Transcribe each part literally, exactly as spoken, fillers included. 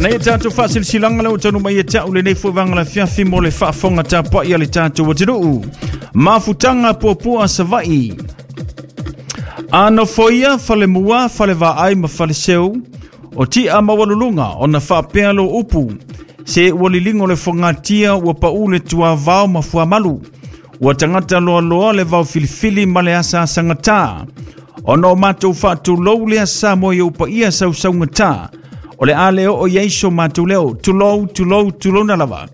Nei tātou whaasilsilanga le o tanu mai e tau le nei fuavanga la fiafi mo le faafonga tapuai a le tātou atunuu. Mafutanga puapua Savaii. Anofoia falemua falevaai ma faleseu o tia mawalulunga ona faapea lo upu. Se ua liligo le fogatia ua pau le tuavao ma fuamalu. Ua tagata loaloa le vao filifili ma le asaasagatā. Ona o matou faatulou lea Samoa i ou paia sausaugatā. O le a le oo i ai so matou leo. Tulou, tulou, tulouna lava.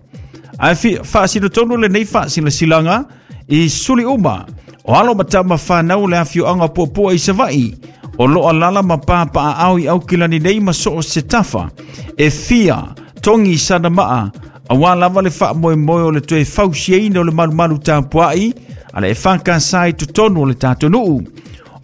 Ae faasinotonu lenei faasilasilaga i suli uma o alo ma tama whanau le afioaga puapua i Savaii o loo alala ma papaaao i Aukilani nei ma soo se tafa e fia togi sana maa auā lava le faamoemoe o le toe fausiaina o le malumalu tapuai a le E F K S i totonu o le tatou nuu.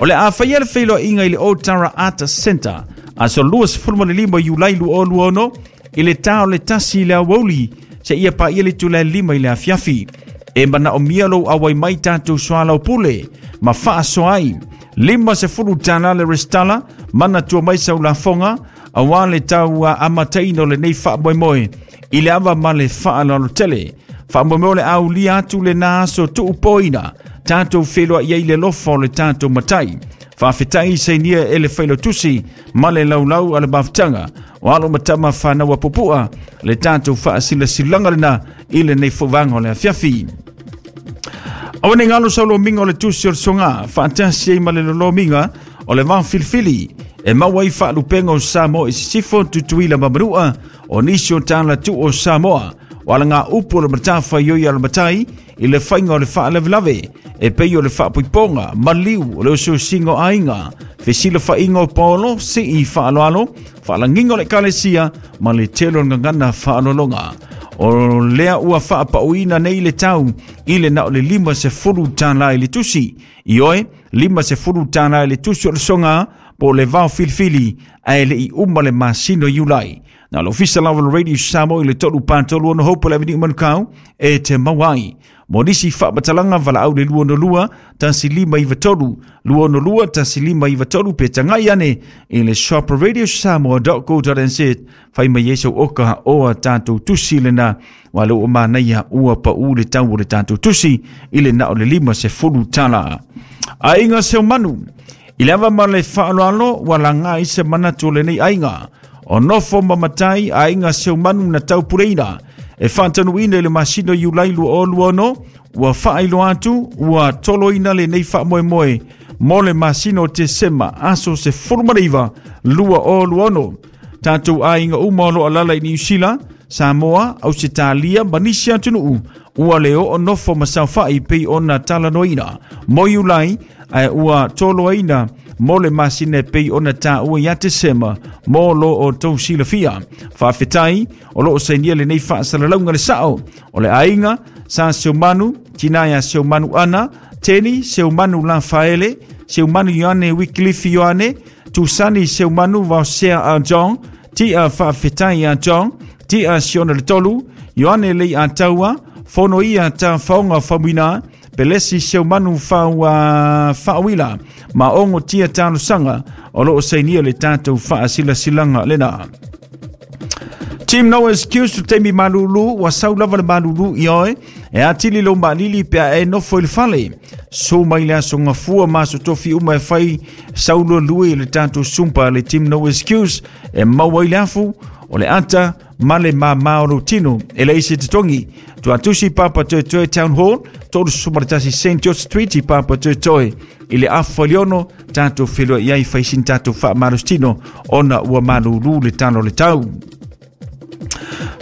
O le a faia le feiloaiga i le Otara Art Center aso luasefulumalima Iulai luaono i le tā o le tasi i le aoauli seia paia le itula e lima i le afiafi. E manaomia lou auai mai tatou soalaupule ma faasoa ai. Lima sefulu tālā le restala manatua mai sau lafoga auā le tau amataina o lenei faamoemoe i le ava ma le faaaloalo tele. Faamoemoe o le aulia atu lenā aso tuupoina tatou feloai ai le lofa o le tatou matai. Faafetai sainia e le failautusi ma le laulau a le mafutaga o alo ma tama whanau a pupua le tatou faasilasilaga lena i lenei fovaga o le afiafi. Aua ne i galo sau lomiga o le tusi o le soga faatasi ai ma le lolomiga o le vafilifili e maua ai faalupega o Samoa i sisifo Tutuila ma Manua o nisi o talatu o Samoa o alaga upu o le matafaioi a le matai i le faiga o le faalavelave e pei o le faapuipoga maliu o le osiosiga o aiga fesilafaiga o paolo sii faaloalo faalagiga o le ekalesia ma le tele o le gagana faaaloaloga. O lea ua faapauina nei le tau i le na o le lima sefulu tālā i le tusi. I oe, lima sefulu tālā i le tusi o le soga po o le vao filifili ae le i uma le masina o Iulai. Na le ofisa lava o le Radio Samoa i le tolu patolu ono Hope Avenue Manukau e te maua ai. Mo nisi faamatalaga valaau le lua ono lua tasi lima iva tolu lua ono lua tasi lima iva tolu pe tagai ane i le shop radio samoa dot co dot n z fai mai ai sau oka o a tatou tusi lena wa le ua manaia ua pau le tau o le tatou tusi i le na o le lima sefulu tālā. Aiga Seumanu i le ava ma le faaaloalo ua laga ai se manatu o lenei aiga o nofo ma matai aiga Seumanu na taupuleina e faatanuina i le masina Iulai luaono ua faailoa atu ua toloina lenei faamoemoe mo le masina o Tesema aso sefulumanaiva luaono. Tatou aiga uma o loo alala i Niusila, Samoa, Ausetalia ma nisi atunuu ua le oo nofo ma saofai pei ona talanoaina mo Iulai ae ua toloaina mo le masina e pei ona taua ia Tesema mo lo o tou silafia. Faafetai o loo sainia lenei faasalalauga le sao o le aiga Sa Seumanu, tina ia Seumanu Ana, Teni Seumanu Lafaele, Seumanu Ioane Wycliffe Ioane, Tusani Seumanu Vaosea a John, Tia Faafetai a John, Tia Siona le Tolu, Ioane Lei Ataua, Fono ia ta faonga famuina, Pelesi Seumanu Faua Faawila, ma ongo tia talosaga o loo sainia le tatou faasilasilaga lena. Team No Excuse tu taimi malulu ua sau lava le malulu i oe e atili lou maalili pe a e nofo i le fale. Su mai le aso gafua ma aso tofi uma e fai sau lualue i le tatou sumpa le Team No Excuse e maua ai le afu o le ata ma le māmā o lou tino e leai se totogi. Tuatusi Papatoetoe Town Hall, tolu sefulu ma le tasi Saint George Street i Papatoetoe i le afa i le ono tatou feloai ai fai sina tatou faamalositino ona ua malūlū le tala o le tau.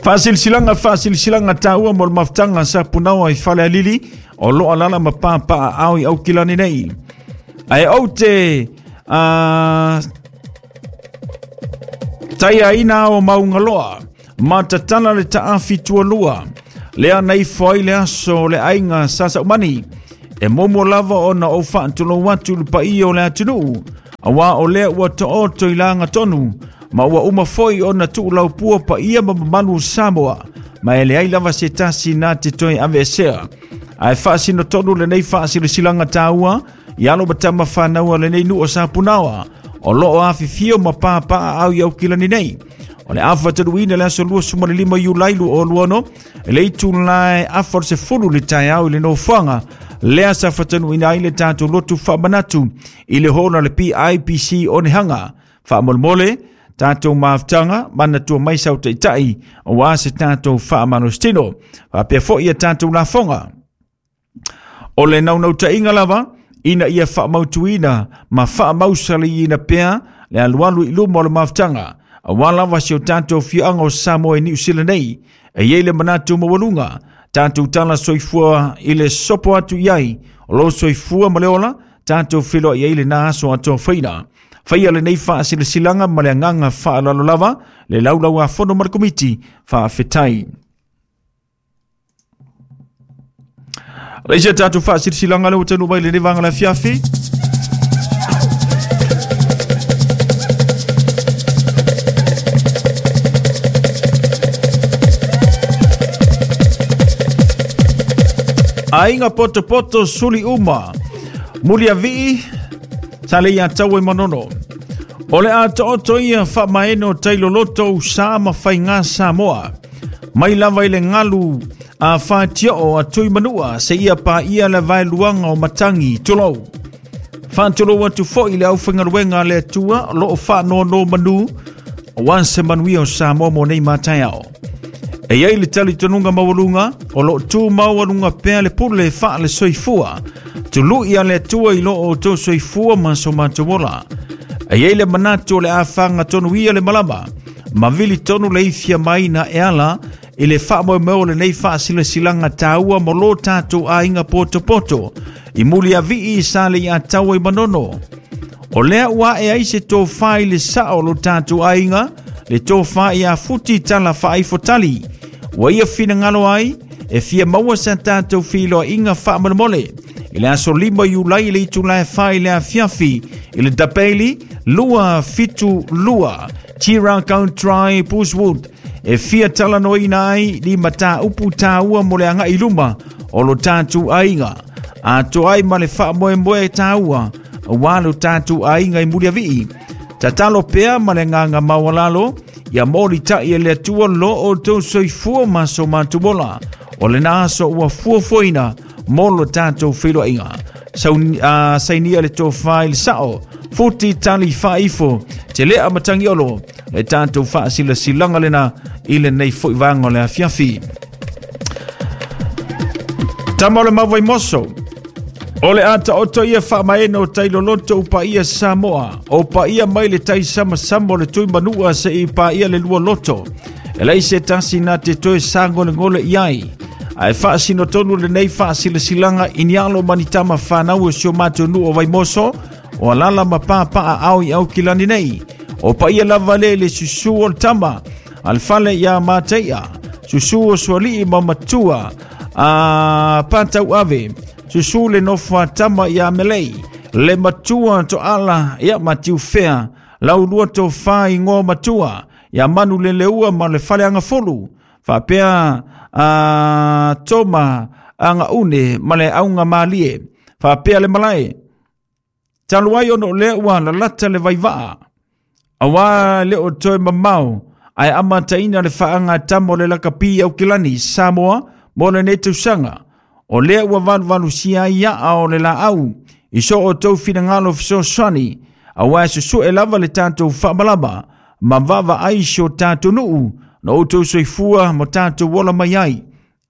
Faasilasilaga faasilasilaga taua mo le mafutaga sapunaoa i Falealili o loo alala ma papaaao i Aukilani nei. Ae ou te uh, taiaina ao maugaloa ma tatala le taafi tualua lea na ifo ai le aso o le aiga sa Saumani e momo lava ona ou faatulou atu le paia o le atunuu auā o lea ua taoto i laga tonu ma ua uma foi ona tuulaupua paia ma mamalu o Samoa ma e leai lava se tasi na te toe aveesea. Ae faasinotonu lenei faasilasilaga taua i alo ma tama whanau a lenei nuu o Sapunaoa o loo afifio ma papaaao i Aukilani nei. O le afa taluina le aso lua suma le lima Iulai lu o luano, le itu lai afa se fulu le taeao i le nofoaga lea sa fatanuina ai le tatou lotu faamanatu i le hola le P I P C o Nehanga. Faamolemole tatou mafutaga manatua mai sau taitai aua se tatou faamalositino. Faapea foi ia tatou lafoga. O le naunautaiga lava ina ia faamautuina ma faamausaliina pea le alualu i luma o le mafutaga aua lava si o tatou afioaga o Samoa i Niu Sila nei. E iai le manatu maualuga tatou tala soifua i le sopo atu i ai o lo soifua ma le ola tatou feloai ai lena aso atofaina. Faia lenei faasilasilaga ma le agaga faaaloalo lava le laulau a fono ma le komiti faafetai. Leisia tatou faasilasilaga le ua taunuu mai lenei vaega o le afiafi. Aiga potopoto suli uma muliavii sa le ia tau e manono. O le ato'oto ia faamaeno tailoloto usa ma faiga Samoa mai lava i le galu a fatio'o a tui manua seia paia le vaeluaga o matagi tulou. Faatulou atu fo'i le aufaigaluega a le Atua o loo faanono manu aua se manuia o Samoa mo nei mataeao. E iai le talitonuga maualuga o loo tumau aluga pea le pule faale soifua tului a le Atua i loo outou soifua ma so matou ola. E iai le manatu o le afaga tonuia le malama ma vili tonu le ifia mai na e ala i le faamoemoe o lenei faasilasilaga taua mo lo tatou aiga potopoto i muliavii sa le ia taua i Manono. O lea ua ae ai se tofā i le sao o lo tatou aiga, le tofā ia futi tala faaifotali ua ia finagalo ai e fia maua sa tatou filoaiga faamolemole i le aso lima Iulai i le itula e fa i le afiafi i le Dapeili lua fitu lua Tira Country Bushwood e fia talanoaina ai ni mataupu taua mo le agai luma o lo tatou aiga atoa ai ma le faamoemoe taua aua lo tatou aiga i muliavii. Tatalo pea ma le agaga maualalo ia molita'i e le Atua lo outou soifua ma so matou ola. O lena aso ua fuafuaina mo lo tatou feiloaiga. Sainia le tofā i le sao futi tali faaifo te lea matagiolo le tatou faasilasilaga lena i lenei fo'i vaega o le afiafi. Tama o le Mavaimoso o le ato'oto ia faamaeno tailoloto upaia Samoa o paia mai le taisamasama o le tui manua se'i paia le lua loto e lai se tasi na te toe sagolegole i ai ae faasinotonu lenei faasilasilaga i ni alo ma ni tama fanau o si o matou nuu o Vaimoso o alala ma papaa ao i Aukilani nei. O paia lava le le susū o le tama a le fale iā Matai'a susū o suali'i ma matua a patau ave susū le nofo a tama iā Melei le matua to'ala ia Matiufea laulua tofā igoa matua ia Manu leleua ma le fale agafulu faapea a toma agaune ma le auga malie faapea le malae talu ai ona o lea ua lalata le vaivaa auā le o toe mamao ae amataina le faagatama o le lakapi Aukilani Samoa mo lenei tausaga. O lea ua valuvalusia ai iaa o le laau i so outou finagalo fesoasoani auā e susu'e lava le tatou faamalama ma vaavaai si o tatou nuu na outou soifua ma tatou ola mai ai.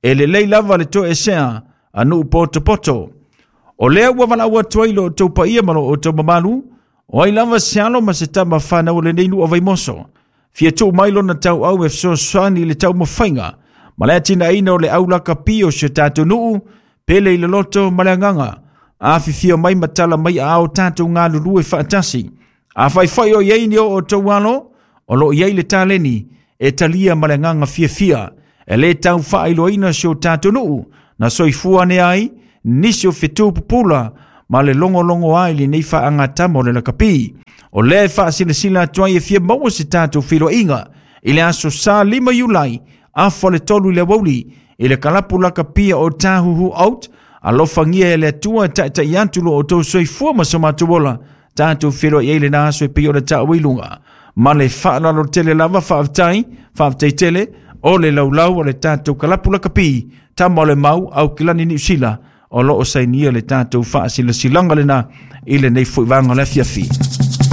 E lelei lava le toesea a nuu potopoto. O lea ua valaau atu ai lo outou paia ma lo outou mamalu o ai lava se alo ma se tama fanau o lenei nuu o Vaimoso fia tuu mai lona tauau e fesoasoani i le taumafaiga ma le atinaina o le aulakapi o si o tatou nuu pele i le loto ma le agaga afifio mai ma tala mai aao tatou galulue faatasi. Afai o iai ni o outou alo o loo iai le taleni e talia ma le agaga fiafia e lē tau faailoaina si o tatou nuu na soifua ane ai nisi o fetu pupula ma le logologo ai lenei faagatama o le lakapi. O lea e faasilasila atu ai e fia maua se tatou feiloaiga i le aso sa lima Iulai afa le tolu i le aoauli i le kalapu lakapia o Tāhuhu Out alofagia e le Atua e ta'ita'i atu lo outou soifua ma so matou ola tatou feiloai ai lena aso e pei ona ta'ua i luga. Ma le faaaloalo tele lava. Faafetai, faafetai tele o le laulau o le tatou kalapu lakapi tama o le mau Aukilani Niu Sila o loo sainia le tatou faasilasilaga lena i lenei foi vaega o le afiafi.